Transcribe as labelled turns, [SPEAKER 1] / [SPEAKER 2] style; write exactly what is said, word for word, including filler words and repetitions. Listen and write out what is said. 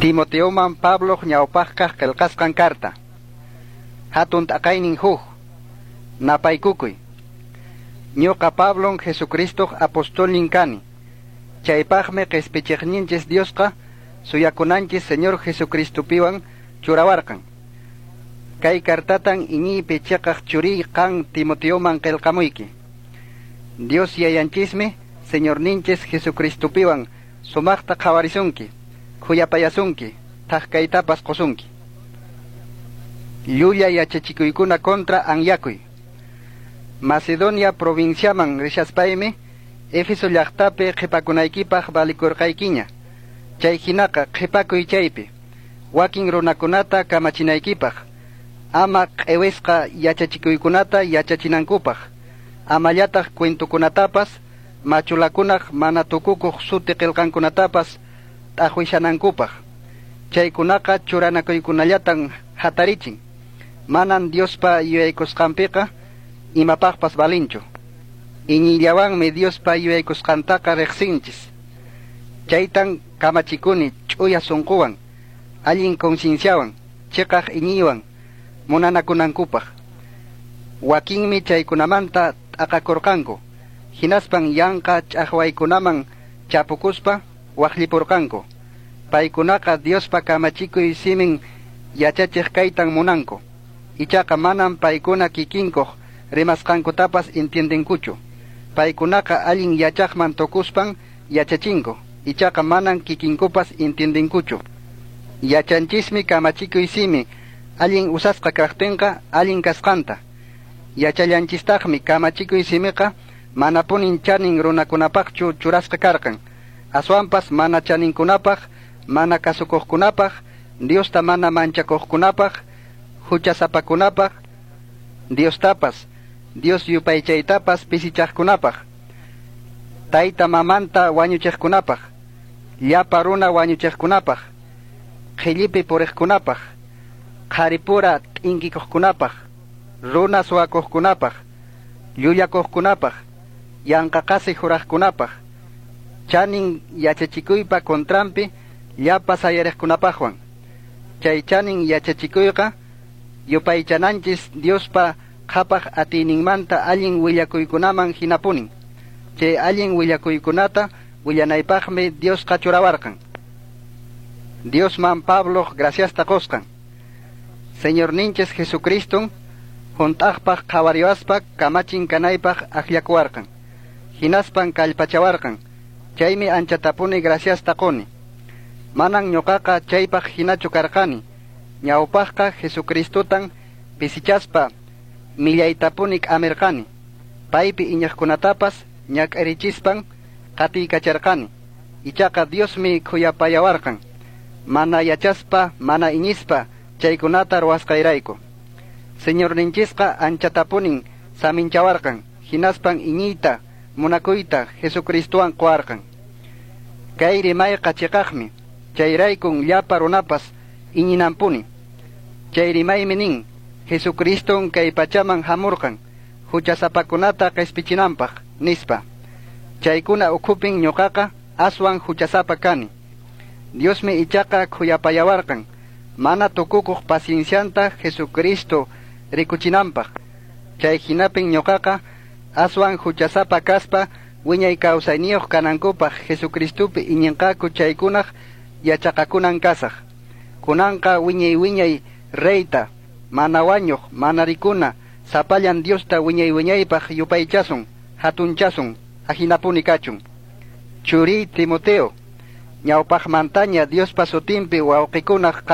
[SPEAKER 1] Timoteoman Pablo ñawpaqkaq qillqasqan karta. Hatun t'aqaynin huk. Napaykukuy. Ñuqa Pablon Jesucristoq apostolnin kani. Chaypaqmi qispichiqninchis Diosqa suyakunanchis Señor Jesucristopiwan churawarqan. Kay kartatan iñiypi chiqaq churiy qan Timoteoman qillqamuyki. Dios yayanchismi Señorninchis Jesucristopiwan sumaqta qhawarisunki, khuyapayasunki, thak kaytapas qusunki. Llulla yachachikuykuna contra anyakuy. Macedonia provinciaman rishaspaymi Éfeso llaqtapi qhipakunaykipaq valikurqaykiña. Chay hinaqa qhipakuy chaypi, wakin runakunata kamachinaykipaq, ama q'iwisqa yachachikuykunata yachachinankupaq, amallataq cuentokunatapas, machulakunaq mana tukukuq suti qillqankunatapas t'aqwishanankupaq. Chaykunaqa churanakuykunallatan hatarichin. Manan Diospa yuyaykusqanpiqa imapaqpas valinchu. Iñiyllawanmi Diospa yuyaykusqantaqa riqsinchis. Chaytan kamachikuni ch'uya sunquwan, allin concienciawan, chiqaq iñiywan munanakunankupaq. Wakinmi chaykunamanta t'aqakurqanku, hinaspan yanqa ch'aqwaykunaman chapukuspa waqllipurqanku. Paykunaqa Diospa kamachikuy simin yachachiq kaytan munanku. Ichaqa manan paykuna kikinkuq rimasqankutapas entiendenkuchu. Paykunaqa allin yachaqman tukuspan yachachinku. Ichaqa manan kikinkupas entiendenkuchu. Yachanchismi kamachikuy simi allin usasqa kaqtinqa allin kasqanta. Yachallanchistaqmi kamachikuy simiqa manapunin chanin runakunapaqchu churasqa karqan. Aswanpas mana chaninkunapaq, mana kasukuqkunapaq, Diosta mana manchakuqkunapaq, huchasapakunapaq, Diostapas, Dios yupaychaytapas pisichaqkunapaq, tayta mamanta wañuchiqkunapaq, llapa runa wañuchiqkunapaq, qhillipi puriqkunapaq, qharipura t'inkikuqkunapaq, runa suwakuqkunapaq, llullakuqkunapaq, yanqa qasi juraqkunapaq, chanin yachachikuypa contranpi llapa sayariqkunapaqwan. Chay chanin yachachikuyqa yupaychananchis Diospa qhapaq atiyninmanta allin willakuykunaman hinapunin. Chay allin willakuykunata willanaypaqmi Diosqa churawarqan. Diosman Pabloq graciasta qusqan. Señorninchis Jesucriston hunt'aqpaq qhawariwaspa kamachin kanaypaq akllakuwarqan. Hinaspan kallpachawarqan. Chaymi anchatapuni graciasta quni. Manan ñuqaqa chaypaq hinachu karqani. Ñawpaqqa Jesucristotan pisichaspa millaytapuni k'amirqani. Paypi iñiqkunatapas ñak'arichispan qatiykacharqani. Ichaqa Diosmi khuyapayawarqan. Mana yachaspa, mana iñispa chaykunata ruwasqayrayku. Señorninchisqa anchatapunin saminchawarqan, hinaspan iñiyta, munakuyta Jesucristowan quwarqan. Kay rimayqa chiqaqmi, chayraykun llapa runapas iñinanpuni. Chay rimaymi nin, Jesucriston kay pachaman hamurqan, huchasapakunata qispichinanpaq, nispa. Chaykuna ukhupin ñuqaqa aswan huchasapa kani. Diosmi ichaqa khuyapayawarqan, mana tukukuq paciencianta Jesucristo rikuchinanpaq. Chay hinapin ñuqaqa aswan huchasapa kaspa wiñay kawsayniyuq kanankupaq Jesucristopi iñinqaku chaykunaq yachaqakunan kasaq. Kunanqa wiñay wiñay reyta, mana wañuq, mana rikuna, sapallan Diosta wiñay wiñaypaq yupaychasun, hatunchasun, ahinapuni kachun. Churiy Timoteo, ñawpaqmantaña Diospa sutinpi wawqikunaq